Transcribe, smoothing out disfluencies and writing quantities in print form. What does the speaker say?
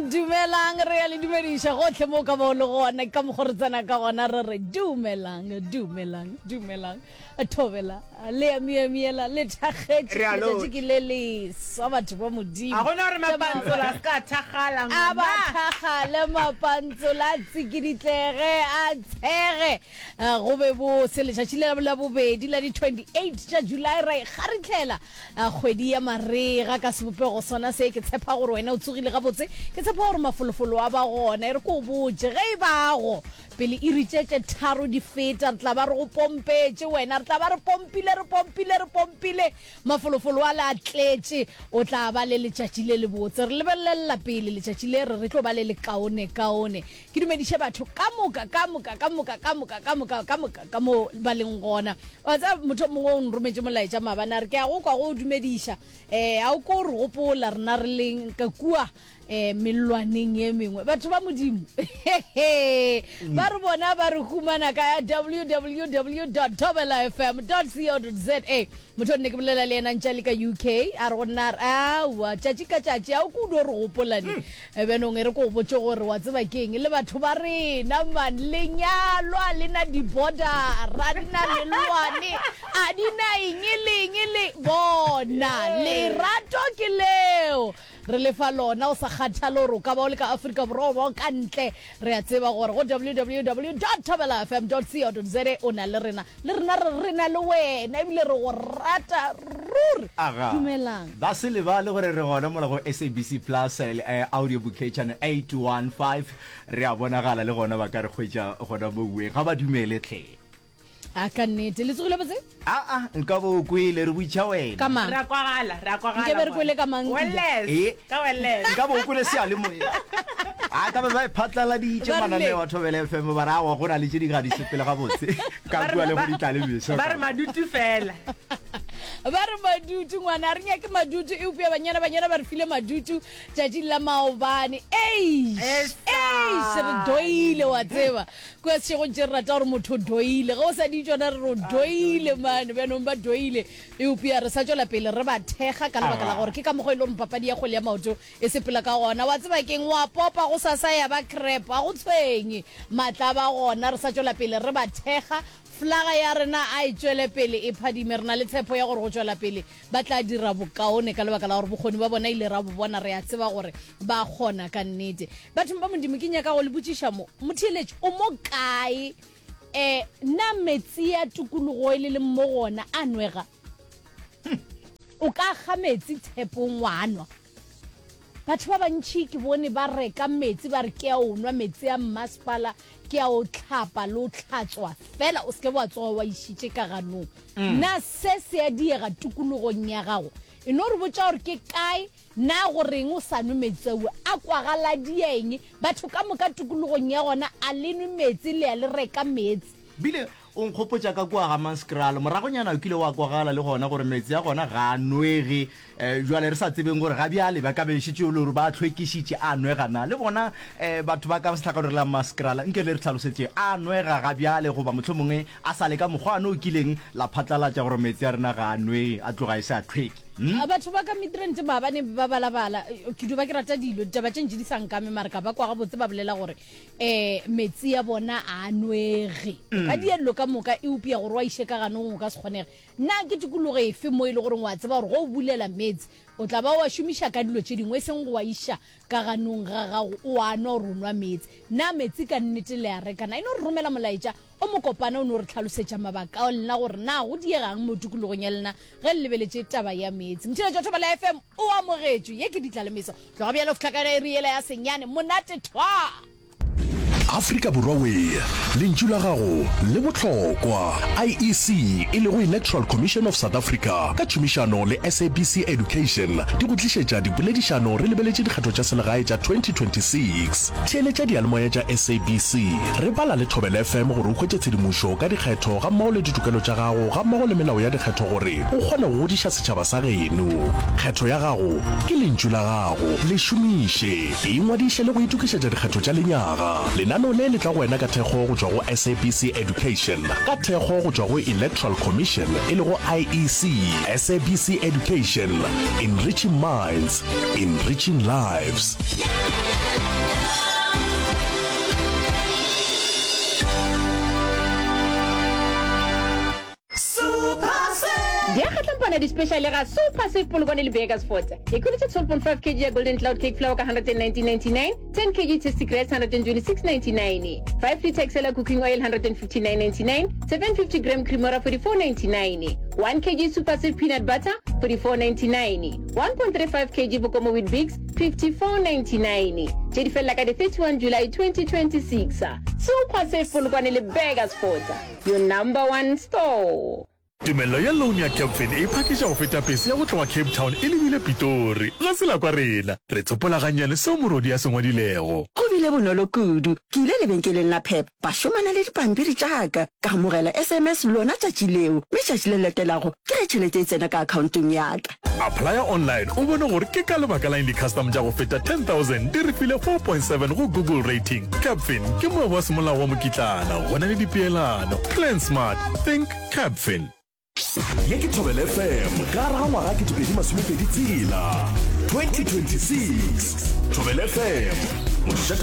Dumelang, dumelang, re ya le dumediša gohle mo ka bo le gona ka mokgo re tsena ka gona re re dumelang, dumelang, dumelang. Thobela le ya miamiela le thakgetše Re a letšatši lotšha. ke le leswa batho ba Modimo. A gona gore mapantsola a se ka thakgala A ba ngwana. thakgale mapantsola a tsikiditlege a tshege go be bose. Letšatši le la bobedi la di 28 tša July ra ikgaritlhela kgwedi ya marega ka sebopego sona se. Ke tshepa gore wena o tsogile gabotse, ke tshepa gore mafolofolo a ba gona. E re ke o botše ge e bago Pele iri tše tše tharo di feta, re tla ba re go pompetše wena. Re tla ba re pompile, re pompile, re pompile. Mafolofolo ale a tletše. O tla ba le letšatši le lebotse. Re lebelelela pele letšatši le re re tlo ba le lekaonekaone. Ke dumediše batho ka moka, ka moka, ka moka, ka moka, ka moka, ka moka ka mo ba leng gona. Wa tseba, motho o mongwe o nrometše molaetša maabane a re, Ke a go kwa go o dumediša. Um, a o ko re gopola rena re leng ka kua um mellwaneng ye mengwe. Batho ba Modimo, ba re bona ba re humana ka www dot thobelafm dot co dot za. Motho o nne ke bolela le yena ntše a le ka UK, a re go nna a re, aowa, tšatši ka tšatši a o ko o dio re gopola ne. Hmm. Bjanong e re ko o botše gore wa tseba keng, le batho ba rena man, lenyalo a le na di-border-a, di na mellwane, a di na eng le eng le bona, lerato ke leo. Re le fa lona o sa kgathale gore o ka ba o le ka Afrika Borwa goba o ka ntle. Re a tseba gore go www dot thobelafm dot co dot za o na le rena. Le rena re re na le wena ebile re go rata ruri. Aga. Dumelang. Ba se lebale gore re gona mola go SABC Plus audio bouquet channel 815. Re a bonagala le gona ba ka re hwetša gona mouweng. Ga ba dumele hle. A ka nnete. Le tsogile botse? Aa, nka bo o kwele, re botša wena. Ka mang? Re a kwagala, re a kwagala. Nke be re kwele ka mang? Welles. Eh? Ka Welles. Nka bo o kwele seyalemoya. A ka be ba e phatlaladitše Ba rile- mananeo a Thobela FM ba re aowa go na le tše di ga di sepele gabotse. Ka kua le go di tla le meso. Ba re madutu fela. Ba re madutu ngwana, a re nyake madutu eupša banyana banyana ba re file madutu tšatšing la maobane. Eish! Esale. Eish, re doile wa tseba. Kua sešegong tše re rata gore motho o doile. Ge o sa di tšona re re o doile mane. Bjanong ba doile. Eupša re sa tšwela pele re ba thekga ka lebaka la gore ke ka mokgwa e le gore papadi ya kgwele ya maoto e sepela ka gona. Wa tseba ke'ng? Wa popa gosasa ya ba crap. Ga go tshwenye. Maatla a ba gona. Re sa tšwela pele re ba thekga. Flaga ya rena a e tšwele pele e phadime. Re na le tshepo ya gore go tšwela pele ba tla dira bokaone ka lebaka la gore bokgoni ba bona ile ra bo bona, re a tseba gore ba kgona ka nnete. Bathong ba Modimo, ke nyaka go le botšiša mo, motheeletši o mo kae? E, na metsi ya tokologo e le leng mo go ona a nwega? O ka kga metsi thepong wa nwa? Batho ba bantši ke bone ba reka metsi ba re ke a o nwa metsi a mmasepala, ke a o hlapa le o hlatswa fela o se ke wa tsoga wa išitše ka ganong. Na se se a diega tikologong ya gago? E no re botša gore ke kae, na go reng o sa nwe metsi ao? A kwagala dia eng? Batho ka moka tikologong ya gona a le nwe metsi le ya le reka meetse. Bile O nkgopotša ka kua Hammanskraal. Moragonyana o kile wa kwagala le gona gore meetse a gona ga a nwege. Bjale re sa tsebeng gore ga bjale ba ka be šetše e le gore ba a hlwekišitše, a nwega na? Le bona batho ba ka sehlakoreng la Hammanskraal, nke le re hlalosetšeng, a nwega ga bjale goba mohlomongwe a sa le ka mokgwa wane o kileng la phatlalatša gore meetse a rena ga a nwege, a tloga e se a hlweki? Hm? Batho ba ka Midrand maabane ba balabala, ke dio ba ke rata dilo, ditaba tše ntši di sa nkame mara ka ba kwa gabotse ba bolela gore um metsi ya bona a a nwege. O ka dia dilo ka moka eupša gore o a iše ka ganong o ka se kgonege. Na ke tikologo efe mo e le goreng wa tseba gore ge o bulela meetse o tla ba o a šomiša ka dilo tše dingwe e seng go a iša ka ganong ga gago o a nwa gore o nwa meetse? Na metsi ka nnete le a reka? Na e no re romela molaetša o mokopana o no re hlalosetša mabaka a lena gore na go diegang mo tikologong ya lena ge le lebeletše taba ya meetse. Motšheletši wa Thobela FM o amogetšwe. Ye ke Ditlalemeso. Tloga bjale go fihla ka iri yela ya senyane. Monate thwaa! Afrika Borwa wee, lentšu la gago le bohlokwa. IEC e lego Electoral Commission of South Africa ka tšhomišano le SABC Education di go tlišetša dipoledišano re lebeletše dikgetho tša selegae tša 2026. Theeletša diyalemoya tša SABC, re bala le Thobela FM gore o hwetše tshedimošo ka dikgetho gammogo le ditokelo tša gago gammogo le melao ya dikgetho gore o kgone go godiša setšhaba sa geno. Kgetho ya gago ke lentšu la gago, le šomiše. Ingwadiše le go itokišetša dikgetho tša lenyaga. Lenaneo le le tla go wena ka thekgo go tšwa go SABC Education, ka thekgo go tšwa go Electoral Commission e lego IEC. SABC Education, enriching minds, enriching lives. gona di-special ga Super Save Polokwane le Burgersfort. Ikhweletše 12.5 kg ya Golden Cloud Cake Flour ka 119.99, 10 kg Tasty Grass 126.99, 5 litre Excella Cooking Oil 159.99, 750 gram Cremora 44.99, 1 kg Super Save Peanut Butter 44.99, 1.35 kg Bokomo Weet-Bix 54.99. Tše di felela ka di 31 July 2026. Super Save Polokwane le Burgersfort, your number one store. Tumelelo ya loan ya Capfin e phakiša go feta pese ya go tloga Cape Town e lebile Pitori. Ga se la kwa rena. Re tsopola gannyane seo morodi a se ngwadilego. Go bile bonolo kudu. Ke ile lebenkeleng la Pep, ba šomana le dipampiri tša ka. Ka amogela SMS lona tšatši leo, mme tšatši le latelago ke ge tšhelete e tsena ka akhaontong ya ka. Applya online o bone gore ke ka lebaka la eng di-custom tša go feta 10,000 di re file 4.7 go Google rating. Capfin ke moabi wa semolao wa mokitlana go na le dipeelano. Plan smart, think Capfin. Ye ke Thobela FM ka gare ga ngwaga 2026, 2026. Thobela FM, mošate wa.